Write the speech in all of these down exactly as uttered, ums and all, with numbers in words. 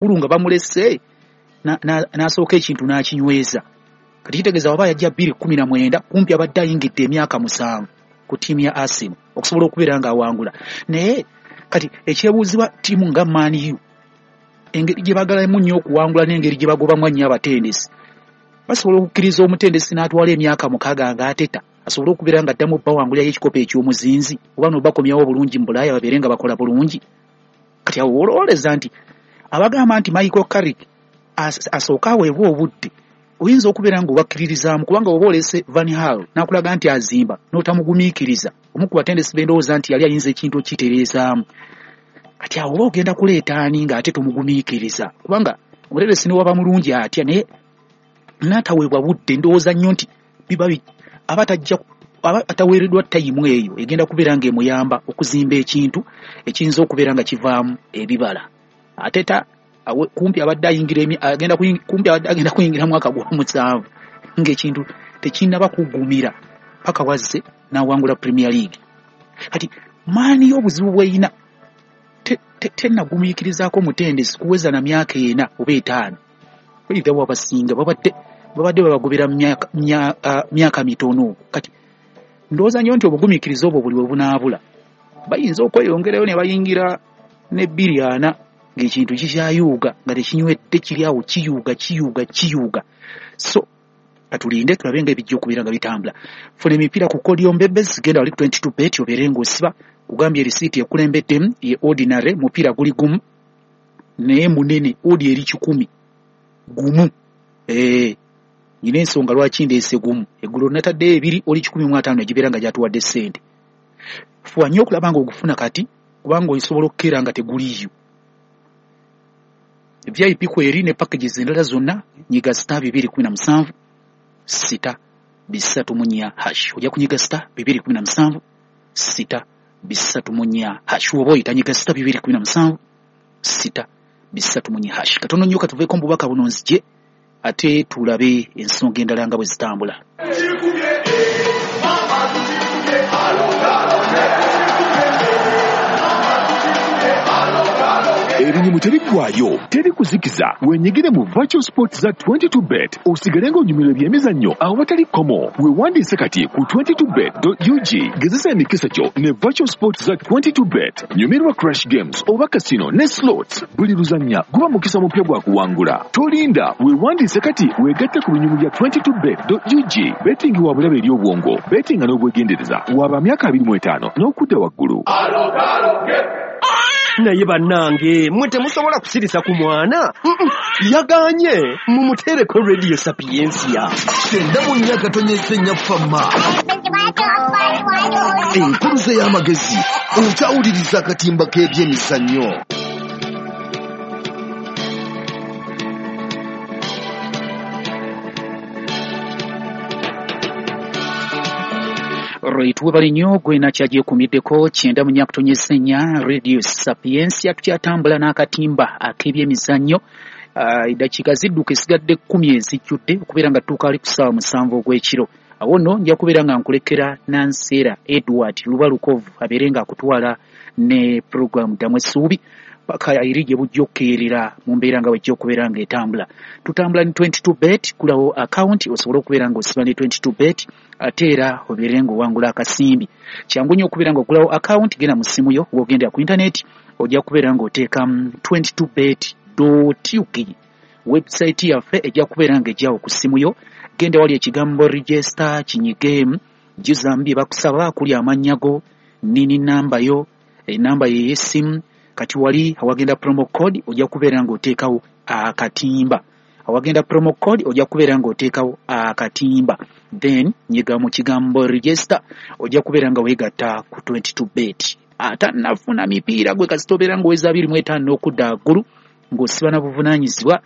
Waggulu nga bamulese n'asooka ekintu n'akinyweza. Kati kitegeeza waba yajja bbiri kkumi na mwenda, kumpi abadde ayingidde emyaka musanvu ku ttiimu ya Arsenal okusobola okubeera ng'awangula. Naye kati ekyebuuzibwa, ttiimu nga Man U, engeri gye baagalamu nnyo okuwangula n'engeri gye bagobamu ennyo abatendesi, basobola okukkiriza omutendesi n'atwala emyaka mukaaga ng'ateta asobole okubeera nga addamu bawangulirayo ekikopo eky'omuzinzi, oba nobakomyawo obulungi mu Bulaaya babeere nga bakola bulungi? Kati awo olowoleza nti abagamba nti Michael Carrick asooke aweebwe obudde, oyinza okubeera ng'obakkiririzaamu, kubanga oba olese Van Gaal n'akulaga nti azimba n'otamugumiikiriza, omu ku batendesi bendowooza nti yali ayinza ekintu okukitereezaamu. Kati awo oba ogenda kuleeta ani ng'ate tomugumiikiriza? Kubanga omutendesi ne waba mulungi atya, naye n'ataweebwa budde, ndowooza nnyo nti biba aba tajja, aba ataweereddwa tayimu eyo egenda kubeera ng'emuyamba okuzimba ekintu ekiyinza okubeera nga kivaamu ebibala. Ate ta kumpi abadde ayingira, agenda, kumpi abadde agenda kuyingira mwaka gwa musanvu ng'ekintu tekinnaba kuggumira, paka wazze n'awangula Premier League. Kati Man U obuzibu bw'eyina, tennagumiikirizaako mutendesi kuweza na myaka ena oba etaano. Either abasinga babadde babadde babagobera myaka mitono. Kati ndowooza nnyo nti obugumiikiriza obwo buli bwe bunaabula, bayinza okweyongerayo ne bayingira ne bbiri ana ng'ekintu kikyayuuga, nga tekinywedde, kiri awo kiyuuga, kiyuuga, kiyuuga. So katulinde tulabe nga ebijja okubeera nga bitambula. Funa emipiira ku Codium Bebes, genda wali ku twenty-two bet obeere ng'osiba. Kugambye risiiti ekulembeddemu ye ordinary, mupiira guli gumu naye munene, odi eri kikumi gumu. Eh, nyina ensonga lwaki ndeese gumu. Eggulo nataddeyo ebiri, oli kikumi mu ataano egibeera nga gyatuwadde ssente. Fuba nnyo okulaba ng'ogufuna kati, kubanga osobola okukeera nga teguliiyo. V I P kweri ne packages endala zonna, nyiga star bibiri kumi na musanvu sita bisatu mu nnya hash. Ojja kunyiga star bibiri kumi na musanvu sita bisatu mu nnya hash. Oba oyita nyiga star bibiri kumi na musanvu sita bisatu mu nnya hash. Katono nnyo katuveeko mu bubaka buno, nzije ate tulabe ensonga endala nga bwe zitambula. Ebinyumu tebiggwayo, teri kuzikiza. Wenyigire mu virtual sports za twenty-two bet, osigale ng'onyumirwa ebyemizannyo awatali kkomo. Weewandiise kati ku twenty-two bet dot U G. Gezesa emikisa gyo ne virtual sports za twenty-two bet. Nyumirwa crash games oba casino ne slots. Buli luzannya guba mukisa mupya gwa kuwangula. Tolinda, weewandiise kati, weegatte ku binyumu bya twenty-two bet dot U G. Betting wa bulabe eri obwongo. Bettinga n'obwegendereza. Waba myaka abiri mu etaano n'okudda waggulu. Naye bannange, mwe temusobola kusirisa ku mwana. Yaganye mumuteereko Radio Sapiensia. Kyenda mu nnya katonyeze nnya fama, enkuluze y'amagezi. Okyawuliriza akatimba k'ebyemizannyo. Right, webale nnyo gwe nakyagyekumiddeko kyenda mu nnya kutonyeza ennya Radio Sapiensia. Tukyatambula n'akatimba ak'ebyemizannyo. Eddakiika zidduka, esigadde kkumi ezijjudde okubeera nga tutuuka ali ku ssaawa musanvu ogw'ekiro. Awo nno nja kubeera nga nkulekera Nanseera Edward Lubalukovu abeere ng'akutwala ne puroguramu Ddamu Essuubi paka eri gye bujja okukeerera mu mbeera nga bwejja okubeera ng'etambula. Tutambula ne twenty-two bet. Kulawo akawunti osobole okubeera ng'osiba ne twenty-two bet, ate era obeere ng'owangula akasimbi. Kyangu nnyo okubeera ng'ogulawo akawunti. Genda mu ssimu yo, w'ogendera ku intaneti, ojja kubeera ng'oteekamu twenty-two bet dot U G. Website yaffe ejja kubeera ng'ejjawo ku ssimu yo. Genda wali ekigambo register, kinyigeemu, jjuzamu bye bakusaba, kuli amannya go, nini, namba yo, enamba ye ey'essimu. Kati wali awagenda promo code ojja kubeera ng'oteekawo akatimba. Awagenda promo code ojja kubeera ng'oteekawo akatimba, then nyiga mu kigambo register, ojja kubeera nga weegatta ku twenty-two bet. Atannafuna mipiira, gwe kasita obeera ng'oweza abiri mu etaano n'okudda waggulu, ng'osiba na buvunaanyizibwa.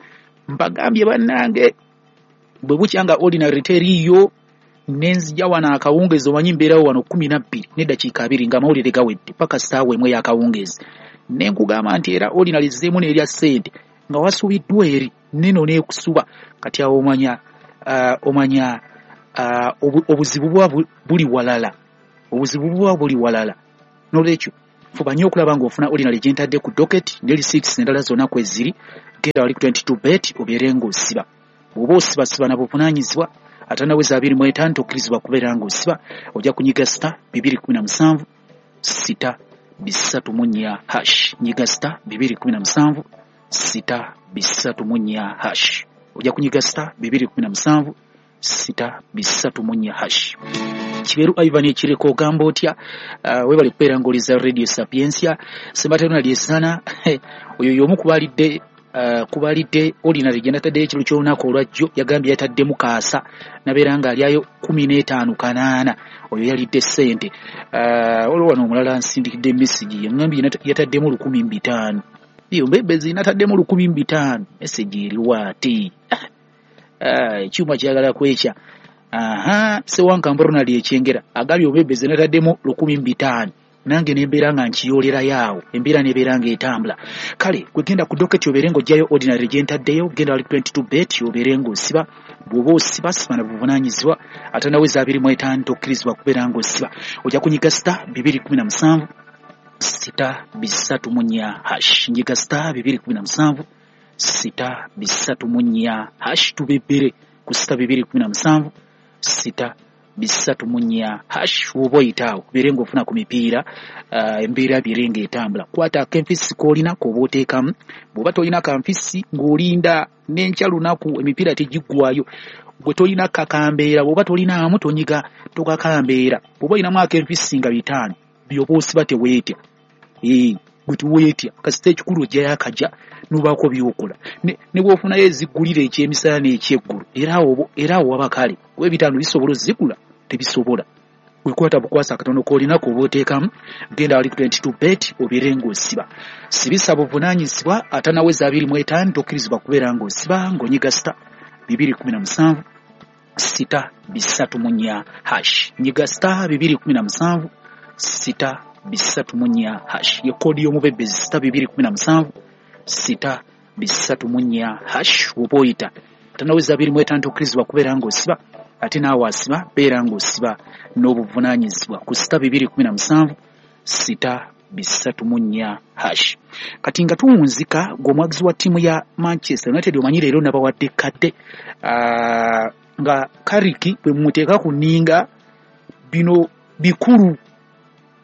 Mbagambye bannange, bwe bukya nga ordinary teriiyo, nenzija wano akawungeezi. Omanyi mbeerawo wano kumi na bbiri n'eddakiika abiri ng'amawulire gawedde paka ssaawa emu ey'akawungeezi, ne nkugamba nti era ordinary zzeemu n'erya ssente nga wasubiddwa eri neno n'ekusuba. Kati awo omanya uh, omanya uh, obuzibu buba buli walala, obuzibu buba buli walala. N'olwekyo fuba nnyo okulaba ng'ofuna ordinary gye ntadde ku docket ne receipts endala zonna kweziri. Genda wali ku twenty-two bet obeere ng'osiba. Bw'oba osiba siba na buvunaanyizibwa. Atanaweza abiri mu etaano tokkirizibwa kubeera ng'osiba. Ojja kunyiga star bibiri kumi na musanvu sita bisatu mu nnya hash. Nyiga star bibiri kumi na musanvu sita bisatu mu nnya hash. Ojja kunyiga star bibiri kumi na musanvu sita bisatu mu nnya hash. Kiberu Ivan Ekireko ogamba otya? Uh, webale kubeera ng'oliza Radio Sapientia. Ssembatano Lyesana oyo y'omu kubalidde Uh, kubalidde ordinary gye nataddeyo ekiro ky'olunaku olwajjo, yagambye yataddemu kaasa nabeera ng'alyayo kumi n'etaano kanaana, oyo yalidde ssente. Uh, olwo wano omulala nsindikidde message yaŋŋambye yataddemu lukumi mu bitaano. Iyo mbebezi nataddemu lukumi mu bitaano, message eriwo ate ekyuma uh, kyagala kwekya. Aha, Ssewankambo Ronald Ekyengera agambye obebezi nataddemu lukumi mu bitaano, nange nembeera nga nkiyoolerayo awo, embeera nebeera ng'etambula. Kale gwe genda ku docket obeere ng'oggyayo ordinary gye ntaddeyo, genda wali twenty-two bet obeere ng'osiba. Bw'oba osiba siba na buvunaanyizibwa. Atanaweza abiri mu etaano tokkirizibwa kubeera ng'osiba. Ojja kunyiga star bibiri kumi na musanvu sita bisatu mu nnya hash. Nyiga star bibiri kumi na musanvu sita bisatu mu nnya hash, tubebbere ku sita bibiri kumi na musanvu sita bisatu mu nnya hash. Woba oyitaawo obeere ng'ofuna ku mipiira, uh, embeera biere ng'etambula. Kwata akenfisi k'olina k'oba oteekamu. Bw'oba tolina kanfisi ng'olinda n'enkya lunaku, emipiira tegiggwayo. Gwe tolina kakambeera, bw'oba tolinaamu tonyiga tokakambeera. Bw'oba olinamu akenfisi nga bitaano, by'oba osiba teweetya. Ee, gwe teweetya, kasita ekikulu ojjayo akajja n'obaako by'okola. Ne, ne bw'ofunayo eziggulira ekyemisana n'ekyeggulu, era awo era awo waba kale. Kuba ebitaano bisobola ozzigula, tebisobola. Wekwata bukwasa akatono k'olina k'oba oteekamu, genda wali ku twenty-two bet obeere ng'osiba. Sibisa buvunaanyizibwa. Atanaweza abiri mu etaano tokkirizibwa kubeera ng'osiba, ng'onyiga star bibiri kumi na musanvu sita bisatu mu nnya hash. Nyiga star bibiri kumi na musanvu sita bisatu mu nnya hash. Ye koodi y'omubebezi star bibiri kumi na musanvu sita bisatu mu nnya hash. Woba oyita atanaweza abiri mu etaano tokkirizibwa kubeera ng'osiba, ate naawe asiba beera ng'osiba n'obuvunaanyizibwa ku sita bibiri kumi na musanvu sita bisatu mu nnya hash. Kati nga tuwunzika gw'omwagizi wa ttiimu ya Manchester United, omanyi leero nabawadde kadde uh, nga Carrick bwe mumuteeka ku nninga bino bikulu.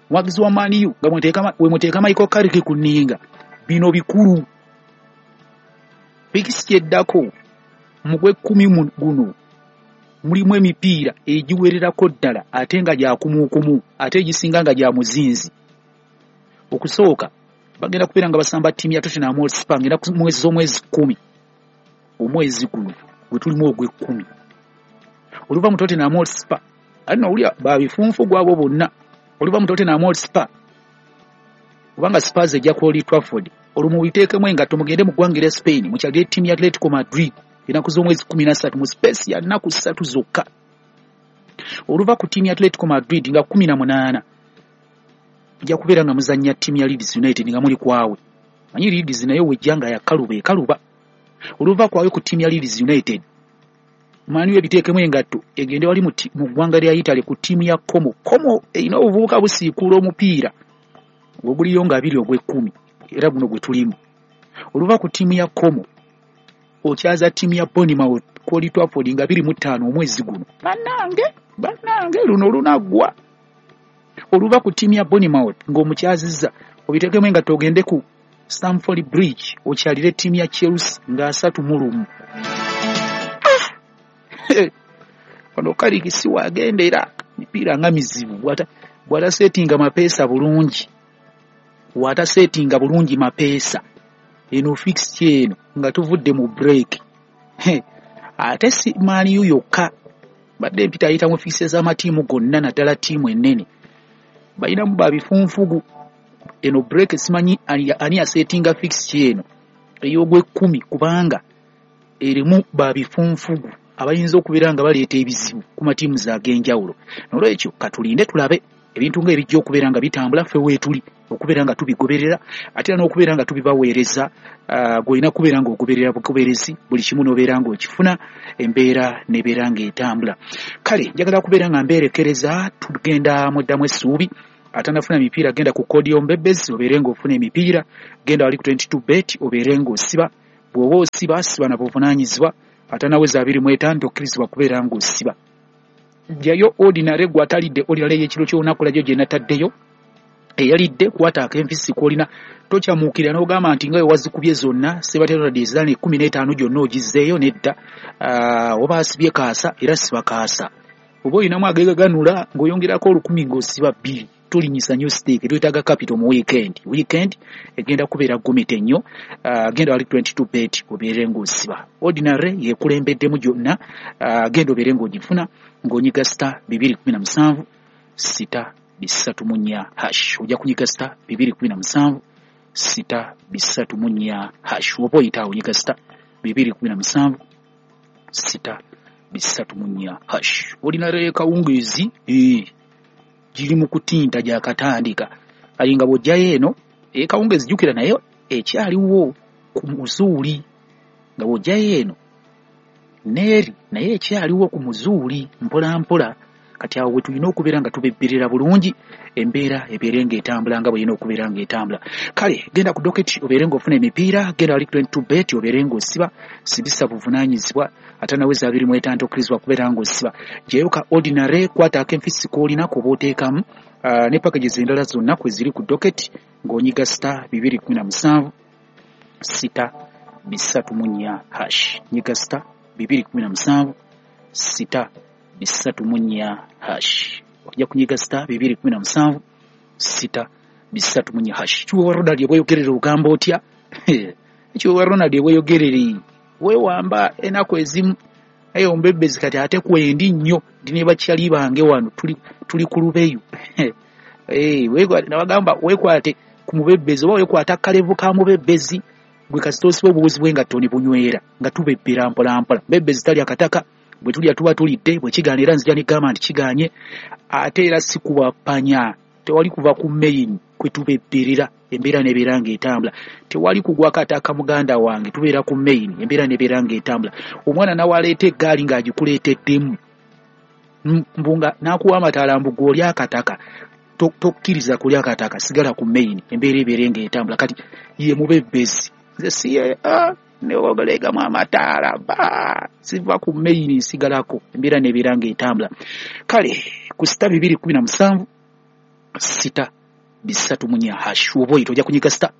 Mwagizi wa Man U nga bwe muteeka Michael Carrick ku nninga bino bikulu. Pikisi kyeddako mu gw'ekkumi guno mulimu emipiira egiwererako ddala ate nga gya kumuukumu, ate egisinga nga gya muzinzi. Okusooka bagenda kubeera nga basamba ttiimu ya Tottenham Hotspur ng'ennaku mwezi z'omwezi kkumi, omwezi guno gwe tulimu ogw'ekkumi. Oluva mu Tottenham Hotspur ate nowulira babifunfu gwabo bonna. Oluva mu Tottenham Hotspur, kubanga Spurs ejja ku Old Trafford, olwo mubiteekemu engatto mugende mu ggwanga erya Spain mukyalire ttiimu ya Atletico Madrid ennaku z'omwezi kkumi na ssatu mu space ya nnaku ssatu zokka. Oluva ku ttiimu ya Atletico Madrid nga kkumi na munaana mujja kubeera nga muzannya ttiimu ya Leeds United nga muli kwawe. Manyi Leeds nayo wejja nga yakaluba ekaluba. Oluva kwawe ku ttiimu ya Leeds United, Man U ebiteekemu engatto egende wali mu ggwanga lya Italy ku ttiimu ya Como. Como erina obuvubuka busiikuula omupiira oguliyo nga abiri ogw'ekkumi, era guno gwe tulimu. Oluva ku ttiimu ya Como okyaza ttiimu ya Bournemouth ku Old Trafford nga abiri mu ttaano omwezi guno. Bannange, bannange luno lunaggwa. Oluva ku ttiimu ya Bournemouth ng'omukyazizza obiteekemu engatto ogende ku Stamford Bridge okyalire ttiimu ya Chelsea nga asatu mu lumu. Wano Carrick si wagendera, mipiira nga mizibu. Bw'ataseetinga mapeesa bulungi, bw'ataseetinga bulungi mapeesa, eno fixture eno nga tuvudde mu break. Ate si Man U yokka, badde empita ayita mu fixture z'amatiimu gonna naddala ttiimu ennene balinamu babifunfugu. Eno break simanyi ani yaseetinga fixture eno ey'ogw'ekkumi, kubanga erimu babifunfugu abayinza okubeera nga baleeta ebizibu ku matiimu ag'enjawulo. N'olwekyo katulinde tulabe ebintu ng'ebijja okubeera nga bitambula, ffe weetuli okubeera nga tubigoberera ate era n'okubeera nga tubibaweereza. Uh, gw'olina kubeera ng'ogoberera bugoberezi buli kimu n'obeera ng'okifuna, embeera n'ebeera ng'etambula. Kale njagala kubeera nga mbeerekereza, tugenda muddamu essuubi. Atanafuna mipiira genda ku koodi y'omubebezi obeere ng'ofuna emipiira, genda wali ku twenty-two bet obeere ng'osiba. Bw'oba osiba, siba na buvunaanyizibwa. Atanaweza abiri mu etaano tokkirizibwa kubeera ng'osiba. Jjayo ordinary gwe atalidde ordinary ey'ekiro ky'olunaku lwajjo gye nataddeyo. Eyalidde kwata ak'enfisi k'olina, tokyamuukirira n'ogamba nti nga we wazikubye zonna Ssebatero ezaali ekkumi n'etaano gyonna ogizzeeyo nedda. Uh, oba asibye kaasa era siba kaasa, oba olinamu agegaganula ng'oyongerako olukumi ng'osiba bbiri. Tulinyisa nnyo stake, twetaaga capital mu weekend. Weekend egenda kubeera gumite nnyo. Uh, genda wali twenty-two bet obeere ng'osiba. Ordinary yekulembeddemu gyonna. Uh, genda obeere ng'ogifuna ng'onyiga star bibiri kumi na musanvu sita bisatu mu nnya hash. Ojja kunyiga star bibiri kumi na musanvu sita bisatu mu nnya hash. Oba oyita awo onyiga star bibiri kumi na musanvu sita bisatu mu nnya hash. Ordinary kawungeezi eh, giri mu kutinta gyakatandika. Kali nga bw'ojjayo eno ekawungeezi jjukira nayo ekyaliwo ku muzuuli, nga bw'ojjayo eno neeri naye ekyaliwo ku muzuuli mpola mpola. Kati awo we tulina okubeera nga tubebbirira bulungi, embeera ebeere ng'etambula nga bw'erina okubeera ng'etambula. Kale genda ku docket obeere ng'ofuna emipiira, genda wali twenty-two bet obeere ng'osiba, sibisa buvunaanyizibwa. Atanaweza abiri mu etaano tokkirizibwa kubeera ng'osiba. Jjayo ka ordinary, kwata ak'enfisi k'olina k'oba oteekamu, uh, ne packages endala zonna kwe ziri ku docket ng'onyiga star bibiri kumi na musanvu sita bisatu mu nnya hash. Nyiga star bibiri kumi na musanvu sita bisatu mu nnya hash. Ojja kunyiga star bibiri kumi na musanvu sita bisatu mu nnya hash. Kiwewa Ronald ebweyogerere ogamba otya? Kiwewa Ronald ebweyogerere weewamba ennaku ezimu naye ombebezi kati ate kwendi nnyo, ndi ne bakyali bange wano tuli, tuli ku lubeyu. Eh, nabagamba weekwate ku mubebezi oba weekwata akalevu ka mubebezi gwe kasita osiba obuwuzi bw'engatto ne bunywera nga tubebbera mpola mpola. Mubebezi talya kataka, bwe tulya tuba tulidde, bwe kigaana era nzija negamba nti kigaanye. Ate era si kubapanya, tewali kuva ku main kwe tubebbirira, embeera n'ebeera ng'etambula. Tewali kugwa kataka muganda wange, tubeera ku main, embeera n'ebeera ng'etambula. Omwana n'awaleeta eggaali ng'agikuleeteddemu mbunga n'akuwa amataala mbu gw'olya akataka, tokkiriza kulya akataka, sigala ku main, embeera ebeere ng'etambula. Kati ye mubebbezi, nze si ah, newogolegamu amataala ba siva ku main nsigalako, embeera n'ebeera ng'etambula. Kale ku sita bibiri kumi na musanvu sita bisatu mu nnya hash. Oba oyita ojja kunyiga sita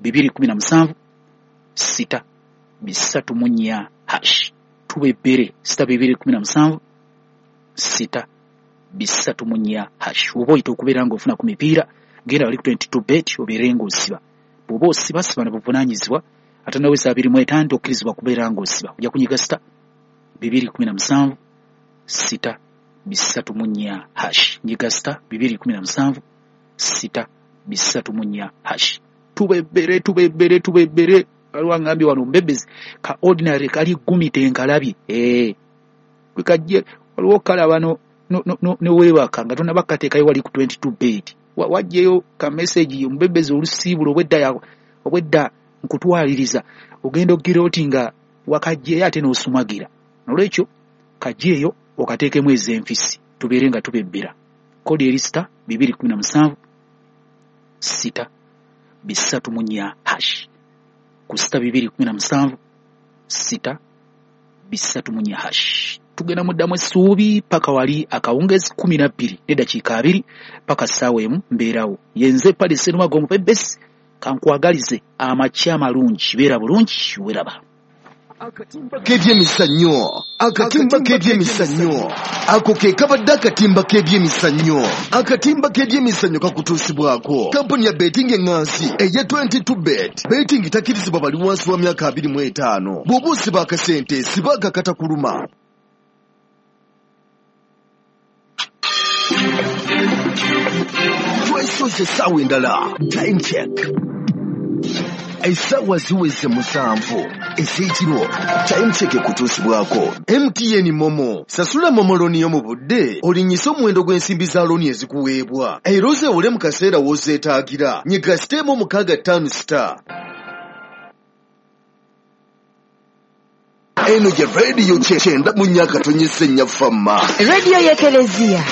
bibiri kumi na musanvu sita bisatu mu nnya hash. Tubebbere sita bibiri kumi na musanvu sita bisatu mu nnya hash. Oba oyita okubeera ng'ofuna ku mipiira, genda wali ku twenty-two bet obeere ng'osiba. Bw'oba osiba, siba na buvunaanyizibwa. Atanaweza abiri mu etaano tokkirizibwa kubeera ng'osiba. Ojja kunyiga sita bibiri kumi na musanvu sita bisatu mu nnya hash. Nyiga sita bibiri kumi na musanvu sita bisatu mu nnya hash. Tubebbere tubebbere tubebbere. Waliwo angambye wano mbebezi ka ordinary kali gumite nkalabye. Eh, gwe kajje waliwo kalaba no no no ne weebaka nga tonnaba kukateekayo wali ku twenty-two bet. Wajjeyo ka message omubebbezi olusiibulo obwedda obwedda nkutwaliriza ogenda ogira oti nga wakajjeyo ate n'osumagira. Nolwekyo kajjeeyo okateekemu ez'enfisi tubeere nga tubebbera. Kodi eri sita bibiri kumi na musanvu sita bisatu mu nnya hash. Ku sita bibiri kumi na musanvu sita bisatu mu nnya hash. Tugenda muddamu essuubi paka wali akawungezi kumi na bbiri n'eddakiika abiri paka ssaawa emu mbeerawo. Yenze Paddy Sserumaga omupebesi, kankwagalize amakya amalungi, beera bulungi, weeraba. Akatimba k'ebyemizannyo, akatimba k'ebyemizannyo, ako ke kabadde akatimba k'ebyemizannyo. Akatimba k'ebyemizannyo kakutuusibwako kampuni ya betting eŋŋansi eya twenty-two bet. Betting takkirizibwa bali wansi wa myaka abiri mu etaano. Bw'oba osiba akasente, siba akakatakuluma. Twesoze essaawa endala. Time check. Essaawa ziweze musanvu ez'ekiro. Time check ekutuusibwako M T N Momo. Sasula Momo looni yo mu budde, olinnyise omuwendo gw'ensimbi za looni ezikuweebwa, era ozeewole mu kaseera w'ozeetaagira. Nyiga sita emu mukaaga ttaano sita. Eno ye rediyo kyenda mu nnya akatonyesa ennya Fama. Rediyo y'Ekelezia.